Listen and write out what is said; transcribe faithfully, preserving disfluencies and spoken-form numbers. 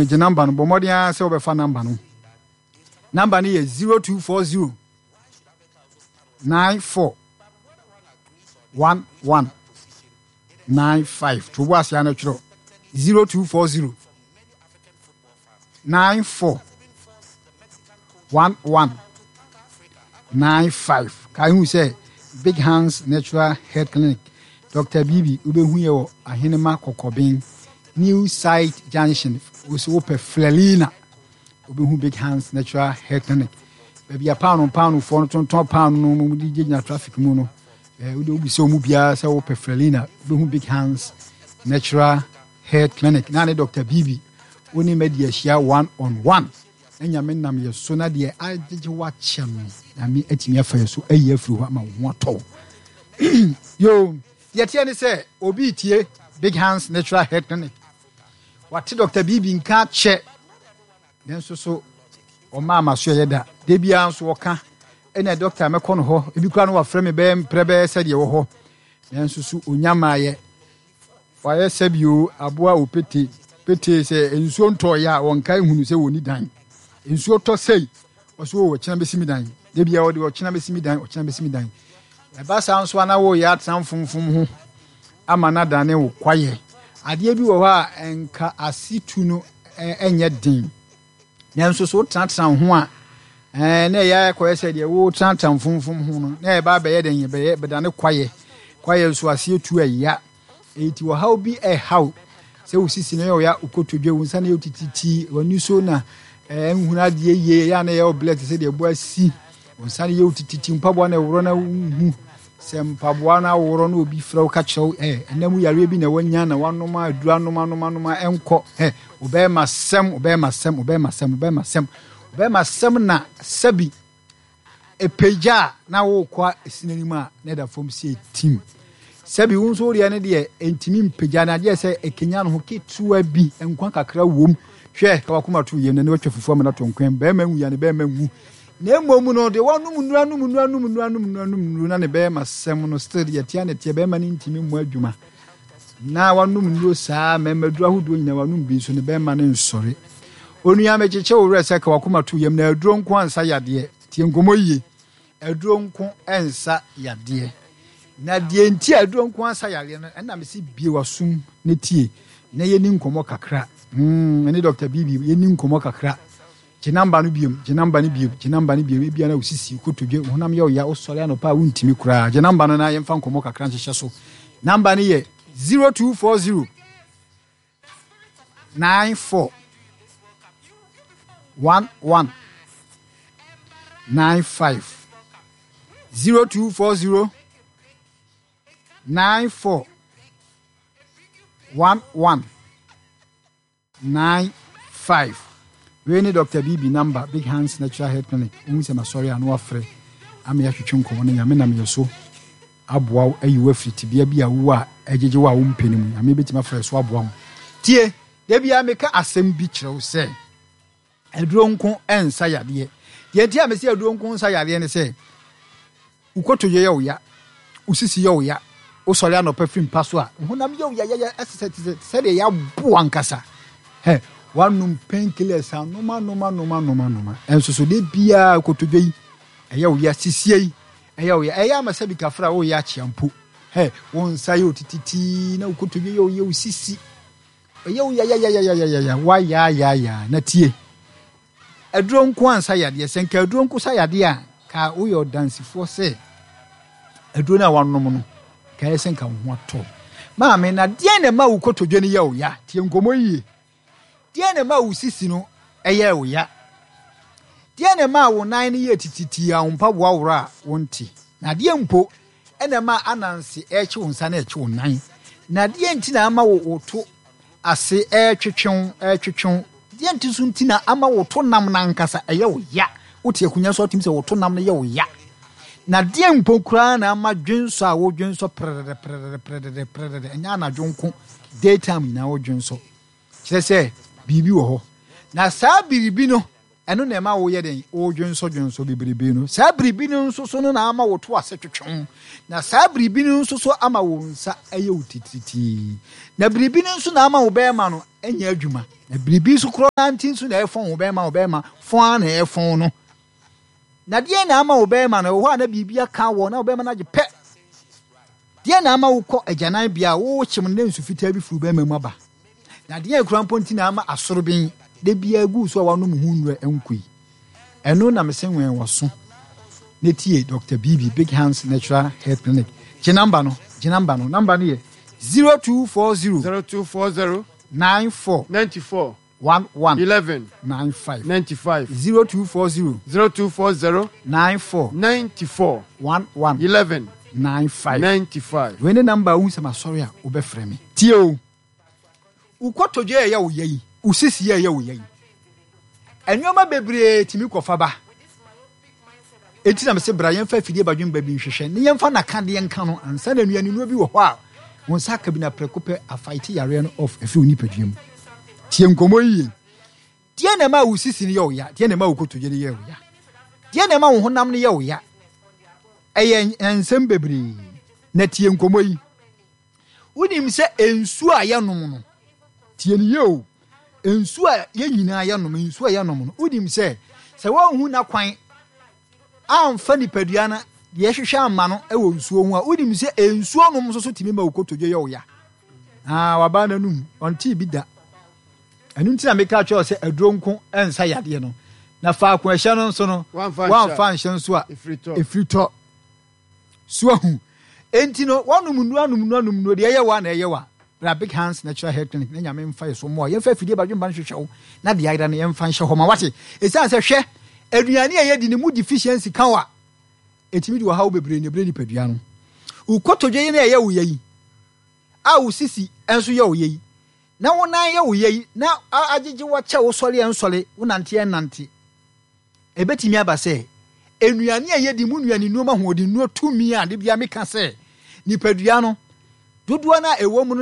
Gye number no, bɔ mmɔden ara sɛ wobɛfa number no. Number no yɛ zero two four zero nine four one one nine five. To bo ase ano twerɛ zero two four zero nine four one one nine five. Kae hu sɛ Big Hands Natural Health Clinic, Doctor Bibi, wobɛhu yɛ wɔ Ahenema Kɔkɔben, New Site Junction. Wo sɛ wopɛ Flelina, wobɛhu Big Hands Natural Health Clinic. Baabi a paano paanofoɔ no tontɔn paano no mu de gyinagyina traffic mu no, eh, wode wobisa mu biara sɛ wopɛ Flelina, wobɛhu Big Hands Natural Health Clinic. Na ne Doctor Bibi, wo ne madi ahyia one on one. Na Nyame nam yɛ so na deɛ agyegye wakyɛ no, Nyame atumi afa yɛ so ayi afiri hɔ ama wo ho atɔ wo. Yo, deɛ teɛ ne sɛ obi tie Big Hands Natural Health Clinic, wate Doctor Bibi nka akyɛ, nanso so ɔma ama so ɛyɛ da. Da biara nso ɔka, ɛna doctor mɛkɔ no hɔ, ebi koraa no wafrɛ me bɛyɛ mprɛ bɛyɛ sɛdeɛ wɔ hɔ, nanso so onya maayɛ. Wayɛ sɛbio aboa opete petee sɛ nsuo ntɔeɛ a wɔnkae nhunu sɛ wɔnni dan. Nsuo tɔ sei, ɔso o ɔkyena bɛsi me dan. Da biara ɔde ɔkyena bɛsi me dan, ɔkyena bɛsi me dan. Ɛba saa nso a na woreyɛ atena mfomfom ho ama no adane wo kwaeɛ. Adeɛ bi wɔ hɔ a ɛnka ase tu no ɛnyɛ den. Nanso so wotenatena wo ho a, ɛɛ na ɛyɛ akɔyɛ sɛ deɛ wotenatena mfomfom ho no, na ɛba abɛyɛ dɛn? Ɛbɛyɛ bɛdane kwaeɛ. Kwaeɛ nso aseɛ tu ɛya. Enti ɔhaw bi ɛhaw sɛ wo sisi no yɛ ɔya, wo kotodwe, wo nsa no yɛ tititi, w'ani so na ɛɛ nhunu adeɛ yie, ɛyɛ a na ɛyɛ ɔblɛ te sɛ deɛ ɛbɔ asi, wo nsa no yɛ tititi, mpaboa no ɛworɔ na wonhu sɛ mpaboa no aworɔ na obi frɛ wo ka kyerɛ wo ɛ ɛnna mu yareɛ bi na wanya na wanom aduru anom anom anom a ɛnkɔ ɛ ɔbɛrima sɛm ɔbɛrima sɛm ɔbɛrima sɛm ɔbɛrima sɛm ɔbɛrima sɛm na sɛbi ɛpagya a na wokɔ ɛsi n'anim a na ɛda fam sɛ ɛtim. Sɛbi wo nso wodeɛ no deɛ ɛntumi mpagya no adeɛ sɛ ɛkenya no ho ketewa bi, nkwa kakra wom. Hwɛ ka wakoma to yam na ne watwa fufuo ama no ato nkwan. Bɛrima nwu ya ne bɛrima nwu. Na mmom no deɛ wanom nnuro anom nnuro anom nnuro anom nnuro anom nnuro na ne bɛrima sɛm no still deɛ tia ne teɛ bɛrima no ntumi mmɔ adwuma. Na wanom nnuro saa mmarima aduro ahodoɔ nyinaa wanom bi nso ne bɛrima no nsɔre. Onua mekyekye wo werɛ sɛ ka wakoma to yam na aduro nko ansa yadeɛ. Tie nkɔmmɔ yie. Aduro nko nsa yadeɛ. Na deɛ nti a aduro nko ansa yadeɛ no, ɛna mese bie w'asom na tie na yɛni nkɔmmɔ kakra. Mm, ɛne Doctor Bibi yɛni nkɔmmɔ kakra. Gye namba no biom, gye namba no biom, gye namba no biom. Ebia na wo sisi, wo kotodwe, wo honam yɛ wo ya, wosɔre anɔpa a wontumi koraa. Gye namba no na yɛmfa nkɔmmɔ kakra nhyehyɛ so. Namba no yɛ zero two four zero nine four one one nine five zero two four zero nine four one one nine five. Wei ne Doctor Bibi number, Big Hands Natural Health Clinic. Wohu sɛ masɔre a na wafrɛ ama yɛatwetwe nkɔmmɔ no. Nyame nam yɛ so aboa wo ayi wo afiri tebea bi a wowɔ a ɛgyegye wo a wompɛ no mu. Nyame bɛtumi afrɛ so aboa wo. Tie, da biara meka asɛm bi kyerɛ wo sɛ aduro nko nsa yadeɛ. Deɛ nti a mese aduro nko nsa yadeɛ ne sɛ wo kotodwe yɛ wo ya, wo sisi yɛ wo ya, wosɔre anɔpa firi mpa so a, wo honam yɛ wo yayaya ɛsɛ sɛ te sɛ sɛdeɛ yɛabo ankasa. Hɛ, wanom painkillers anom anom anom anom anom. Ɛnso so de biara kotodwe yi ɛyɛ wo ya, sisie yi ɛyɛ wo ya, ɛyɛ ama sɛ bi kafra a woyɛ akyea mpo. Hɛ, wo nsa yɛ otititi na wo kotodwe yɛ wo ya, wo sisi ɛyɛ wo yayayayayaya, wayayaya na tie. Aduro nko ansa yadeɛ. Sɛ nka aduro nko sa yadeɛ a, ka woyɛ ɔdansifoɔ sɛ aduro no a wanom no, ka ɛyɛ sɛ nka wo ho atɔ. Maame, na deɛn na ɛma wo kotodwe no yɛ wo ya? Tie nkɔmmɔ yie. Deɛn na ɛma wo sisi no ɛyɛ wo ya? Deɛn na ɛma wo nan no yɛ tititi a wo mpaboa worɔ a wonte? Na deɛn mpo ɛna ɛma ananse ɛrekye wo nsa na ɛrekye wo nan? Na deɛn nti na ama wo wo to ase ɛretwetwe wo ɛretwetwe wo? Deɛn nti nso nti na ama wo to nam no ankasa ɛyɛ wo ya? Wote akonnwa so atumi sɛ wo to nam no yɛ wo ya. Na deɛn mpo koraa na ama dwensɔ a wodwensɔ prɛdɛdɛ prɛdɛdɛ prɛdɛdɛ prɛdɛdɛ, ɛnyɛ anadwo nko, daytime nyinaa wodwensɔ. Kyerɛ sɛ biribi wɔ hɔ. Na saa biribi no Ɛno na ɛma woyɛ dɛn? Wodwensɔdwensɔ bebrebe no. Saa biribi no nso so no na ama wo to ase twetwe. Na saa biribi no nso so ama wo nsa ɛyɛ wo titiritii. Na biribi no nso na ama wo bɛrima no ɛnyɛ adwuma. Na biribi nso korɔ nti nso na ɛfɔn wo bɛrima, wo bɛrima fɔn a na ɛfɔn no. Na deɛ na ama wo bɛrima no, ɛwɔ hɔ a na biribi aka wɔ na wo bɛrima no agye pɛ. Deɛ na ama wo kɔ agyanan bea a wokyem no na nsu fitaa bi firi bɛrima mu aba. Na deɛ ekura mpo nti na ama asoroben de bia gu so a wanom ho nnura nkɔ yi. Ɛno na mese nwɛn wɔ so. Ne tie Doctor Bibi, Big Hands Natural Health Clinic. Gye number no, gye number no. Number no yɛ zero two four zero zero two four zero nine four ninety four one one eleven nine five ninety five zero two four zero zero two four zero nine four ninety four one one eleven nine five ninety five. Wei ne number a wohu sɛ masɔre a wobɛfrɛ me. Tie o, wo kotodwe a ɛyɛ wo ya yi, wo sisi a ɛyɛ wo ya yi, nneɛma bebree tumi kɔfa ba. Enti na mese bra yɛmfa afidie badwemba bi nhwehwɛ ne yɛmfa n'akadeɛ nka no ansa na nnuane nnuro bi wɔ hɔ a wo nsa aka bi na prɛko pɛ afaete yareɛ no off ɛfiri wo nipadua mu. Tie nkɔmmɔ yi yie. Deɛ na ɛma wo sisi no yɛ wo ya? Deɛ na ɛma wo kotodwe no yɛ wo ya? Deɛ na ɛma wo honam no yɛ wo ya? Ɛyɛ nsɛm bebree. Na tie nkɔmmɔ yi. Wonim sɛ nsuo a yɛnom no, tie no yie o, nsuo a yɛn nyinaa yɛnom, nsuo a yɛnom no, wonim sɛ sɛ wɔnhu n'akwan amfa nipadua no deɛ ɛhwehwɛ ama no wɔ nsuo ho a, wonim sɛ nsuo nom nso so tumi ma wo kotodwe yɛ wo ya. Ah, wabaa n'anum, ɔntee bi da. Ɛno nti na meka kyerɛ sɛ aduro nko nsa yadeɛ no. Na faako ɛhyɛ no nso no, wamfa nhyɛ nso a, ɛfiri tɔ. So ahu. Enti no, wɔnom nnuro anom nnuro anom nnuro deɛ ɛyɛ wa na ɛyɛ wa. Bra Big Hands Natural Health Clinic na Nyame mfa yɛ so mmoa. Yɛmfa afidie badwemba no hwehwɛ wo na deɛ ayera no yɛmfa nhyɛ hɔ ma wate. Ɛsiane sɛ hwɛ, aduane a yɛdi no mu deficiency ka wo a, ɛtumi de ɔhaw bebree na ɛbrɛ nipadua no. Wo kotodwe yi na ɛyɛ wo ya yi, a wo sisi nso yɛ wo ya yi, na wo nan yɛ wo ya yi, na agyegye wo akyɛ wo sɔre ɛnsɔre, wo nante ɛnnante. Ɛbɛtumi aba sɛ nnuane a yɛdi mu nnuane nnuro ma ahoɔden nnuro tumi a de bia meka sɛ nipadua no dodoɔ no a ɛwɔ mu no